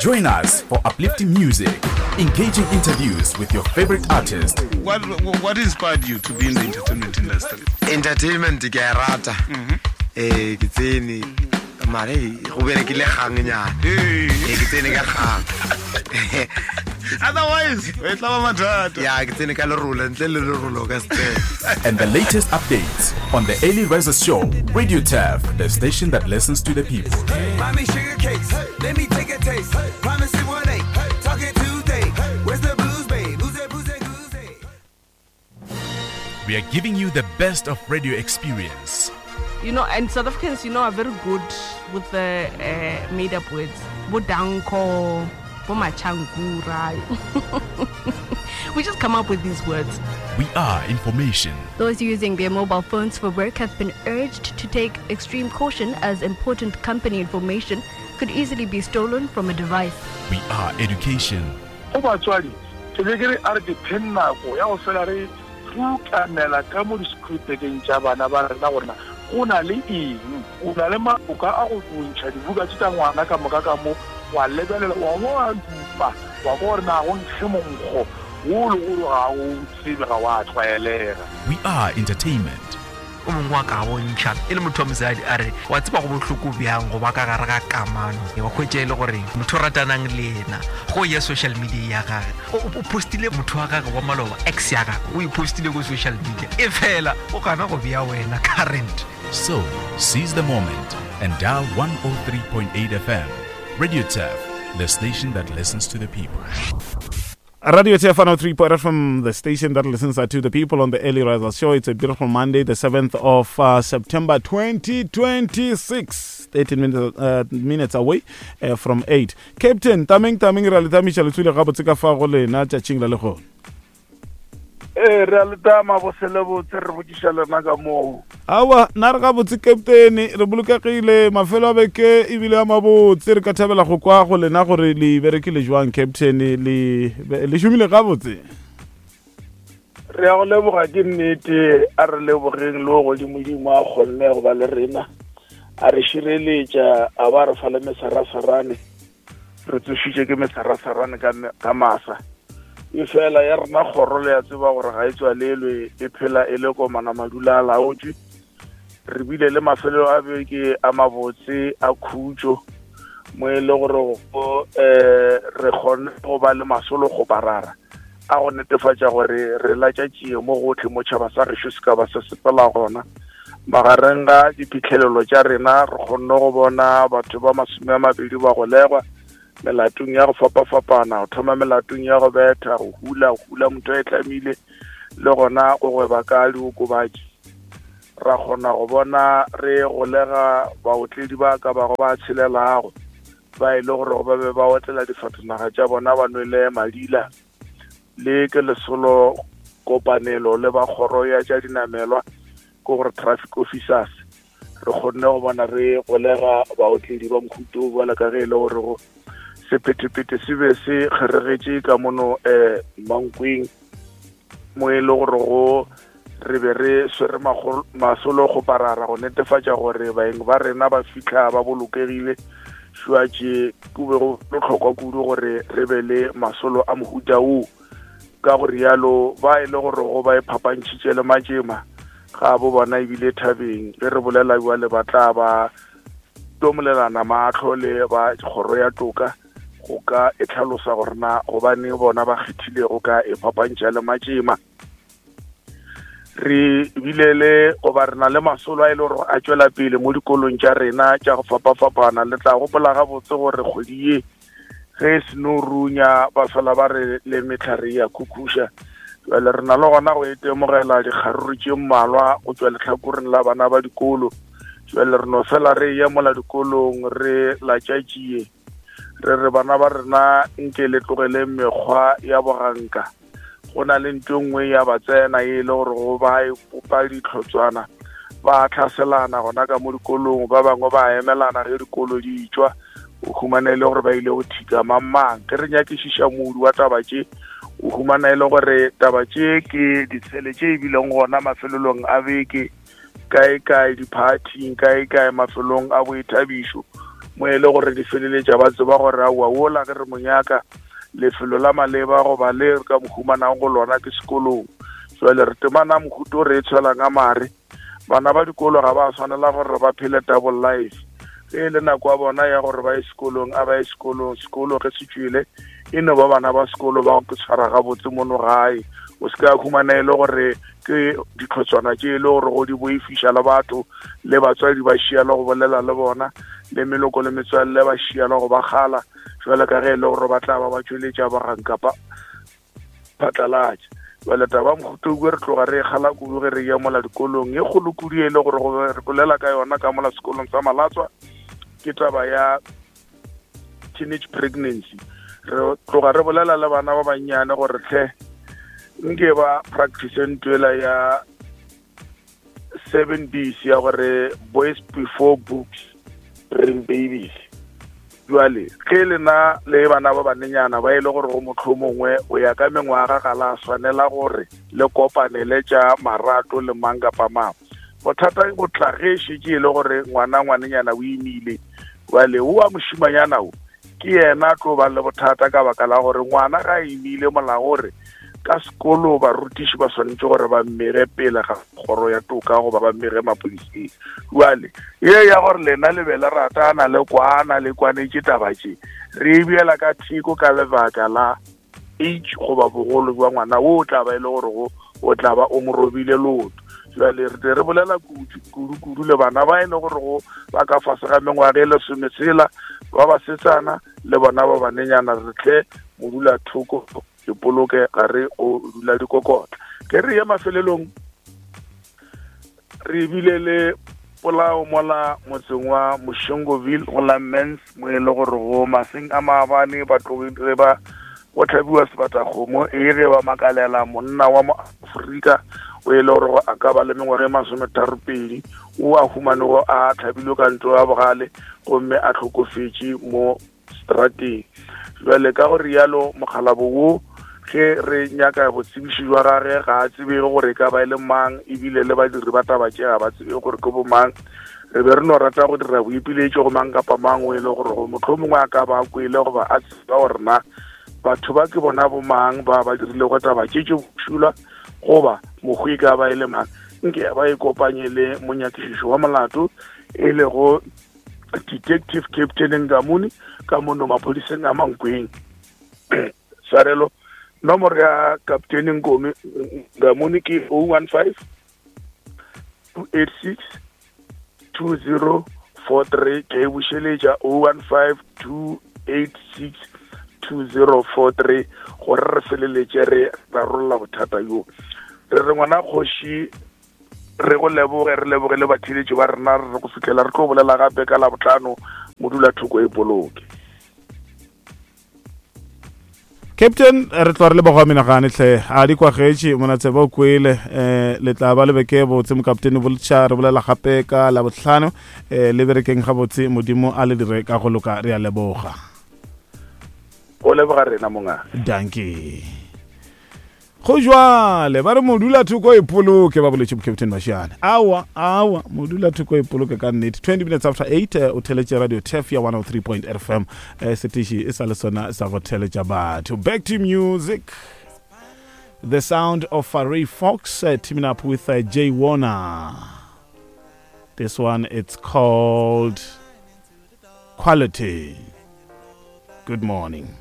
Join us for uplifting music, engaging interviews with your favorite artist. What, what inspired you to be in the entertainment industry? Entertainment ke a e rata. Mhm. Eh ke tsene mare go berekile gang nyana. Eh ke tsene ka gang. Otherwise, e tla ba mathata. Ya ke tsene ka lerolo ntle le lerolo ka se tsene. And the latest updates on the Early Risers Show, Radio Turf, the station that listens to the people. Mommy sugar cakes, let me take a taste. Promise it one eight, talking Tuesday. Where's the blues, babe? Who's that, who's that, who's We are giving you the best of radio experience. You know, and South Africans, you know, are very good with the uh, made up words. Bodanko, Bomachankura. we just come up with these words. We are information. Those using their mobile phones for work have been urged to take extreme caution as important company information could easily be stolen from a device. We are education. Go batswadi, ke be ke re a re dipheng nako ya go fela re rutamela ka mo di-scriptekeng tša bana ba rena gore na go na le eng. O na le maloka a go ntšha dibuka tše tša ngwana ka moka ka mo, wa lebelela, wa bo wa dupa, wa kwa gore na go nkge monkgo wo le gore ga o tsebe, ga wa tlwaelega. We are entertainment. O mongwe wa ka bontšha e le motho wa mosadi a re wa tseba go bohloko bjang go ba ka gare ga kamano wa hwetša e le gore motho o ratanang le yena go ya social media ya gage o postile motho wa gage wa maloba ex ya gage o e postile ko social media e fela o gana go bea wena current. So, seize the moment and dial 103.8 FM. Radio Turf, the station that listens to the people. Radio TF 103.8 FM, the station that listens to the people on the Early Riser Show. It's a beautiful Monday, the 7th of uh, September 2026. 13 minutes, uh, minutes away uh, from 8. Captain, tameng tameng re a le tamiša le tswile gabotse ka fa go lena tšatšing la lehono. Ee, re a le tama boselebotse re botšiša lena ka moo. Aowa, nna re gabotse Kaptene, re bolokegile, mafelo a beke ebile a mabotse. Re ka thabela go kwa go lena gore le berekile jwang Captain, le le šomile gabotse. Re ya go leboga ke nnete, a re lebogeng le o godimodimo a kgonne go ba le rena, a re šireletša, a ba re fa le mesarasarane. Re tsošitše ke mesarasarane ka, ka masa. Efela ya rena kgoro le ya tseba gore ga e tswalelwe, e phela e le komana madula a laotšwe. Re bile le mafelelo a beke a mabotse a khutšo mo e le gore um re kgone go ba le masolo kgoparara a go netefatša gore re latša tšie mo gohle mo tšhaba sa gešo se ka ba se sepela gona. Magareng ga diphihlelelo tša rena re kgonne go bona batho ba 20 ba golegwa melatong ya go fapafapana, go thoma melatong ya go betha, go hula, go hula motho a e tlamile, le gona go gweba ka diokobatši. Ra kgona go bona re golega baotledi ba ka bago ba tshelelago ba e le gore ba be ba otlela difatanaga tša bona ba nwele madila. Le ke lesolo kopanelo le ba kgoro ya tša dinamelwa, ke gore traffic officers, re kgonne go bona re golega baotledi ba mohuto o bjalo ka ge e le gore go sephethephethe se be se kgeregetše ka mono um Mankweng, mo e le gore go re be re swere masolo kgoparara go netefatša gore baeng ba rena ba fihla ba bolokegile. Šuatše go be go bohlokwa kudu gore re be le masolo a mohuta wo. Ka go rialo ba e le gore go ba e phapantšhitše le matšema ga bo bona ebile thabeng ge re bolela bjale ba tla ba tomolelana mahlo le ba kgoro ya toka go ka e tlhalosa gore na gobaneng bona ba kgethile go ka e phapantšha le matšema. Re bile le goba re na le masolo a e le gore a tšwela pele mo dikolong tša rena tša go fapafapana. Le tla gopola gabotse gore kgwedi ye ge e seno runya ba fela ba re le mehlare ya khukhuša. Jwale re na le gona go itemogela dikgaruru tše mmalwa go tšwa lehlakoreng la bana ba dikolo. Jwale re no fela re eya mola dikolong re latšatšie re re bana ba rena nke le tlogeleng mekgwa ya boganka. Go na le ntho e nngwe ya ba tsena e le gore go ba e popa ditlhotswana, ba tlhaselana gona ka mo dikolong, ba bangwe ba emelana ge dikolo di tšwa, o humana e le gore ba ile go thika mang mang. Ge re nyakišiša modu wa taba tše, o humana e le gore taba tše ke ditshele tše e bileng gona mafelelong a beke, kae kae diphathing, kae kae mafelong a boithabišo. Mo e le gore di feleletša ba tseba gore aowa wola ge re mo nyaka lefelo la maleba goba le re ka mo humanago go lona ke sekolong. Jwale re temana mohuto re e tshwelang a mare. Bana ba dikolo ga ba swanela gore ba phele double life. Ge e le nako ya bona ya gore ba ye sekolong, a ba ye sekolong. Sekolo ge se tšwele, e no ba bana ba sekolo ba go tshwara gabotse mono gae. O se ka humana e le gore ke ditlhotswana tše e le gore go di boifiša le batho, le batswadi ba šia le go bolela le bona, le meloko le metswalle ba šia le go ba kgala, jwale ka ge e le gore ba tla ba ba tšweletša baganka phatlalatša. Bjale taba mohuta re tloga re e kgala kudu ge re ya mola dikolong. E kgolo kudu e le gore re bolela ka yona ka mola sekolong sa Malatswa ke taba ya teenage pregnancy. Re tloga re bolela le bana ba bannyane gore hle nke ba practice ntwela ya 7 B's ya gore boys before books bring babies. Jwale ge lena le bana ba banenyana ba e le gore go mohlomongwe o ya ka mengwaga ga la swanela gore le kopanele tša marato le mang kapa mang. Bothata bo tla ge šetše e le gore ngwana ngwanenyana o imile. Jwale o wa mošimanyana o ke yena a tlo ba le bothata ka baka la gore ngwana ga imile molao gore ka sekolo barutiši ba swanetše gore ba mmege pele ga kgoro ya toka goba ba mmege maphodiseng. Jwale ye ya gore lena le be le ratana le kwana le kwanetše taba tše re e beela ka theko ka lebaka la age goba bogolo bja ngwana wo o tla ba e le gore go o tla ba o mo robile leoto. Jwale re tle re bolela kudu kudu le bana ba e le gore go ba ka fase ga mengwaga e lesometshela ba basetsana le bona ba banenyana, re tle modula thoko dipoloke ga re o dula dikokotla. Ke re ye mafelelong re bile le polao mola motseng wa Moshengoville go la Mens mo e le gore go maseng a maabane ba tlogile ba go tlhabiwa sebatakgomo e ge ba makalela monna wa mo Afrika o e le gore a ka ba le mengwaga e masometharopedi o a humanego a tlhabilwe ka ntlo ya bogale gomme a hlokofetše mo strateng. Jwale ka go rialo mokgalabo wo ge re nyaka botsebiši jwa gage ga a tsebege gore e ka ba e le mang, ebile le badiri ba taba tše ga ba tsebe gore ke bomang. Re be re no rata go dira boipiletšo go mang kapa mang o e le gore go mohlomongwe a ka ba a kwele goba a tseba gore na batho ba ke bona bomang ba ba dirilego taba tše tše bošula goba mokgwi e ka ba e le mang, nke ba e kopanye le monyakišišo wa molato e lego Detective Captain Ngamuni ka mono maphodiseng a Mankweng. Tshwarelo, nomoro ya Captain Nkomi Ngamuni ke 015 286 2043. Ke e bušeletša 015 286 2043 gore re feleletše re rarolla bothata bjo. Re re ngwana kgoši re go leboge, re leboge le batheeletši ba rena, re go fihlela re tlo bolela gape ka Labohlano. Modula thoko e poloke. Captain, re tloga re leboga menagane hle a di kwagetše monatseba o kwele um le tla ba le beke botse mokaptene boltšha re bolela gape ka Labohlano um le berekeng gabotse modimo a le dire ka go loka re a leboga. Go leboga rena monga. Dankie. Go jwale ba re modula thoko e poloke ba boletše Captain Mashiane. Awa awa modula thoko e poloke ka nnete. 20 minutes after 8 eh, o theletše radio TEF ya 103.8 FM eh, setiši e sa le sona sa go theletša batho. Back to music. The sound of Ray Fox teaming up with Jay Warner. This one it's called Quality. Good morning.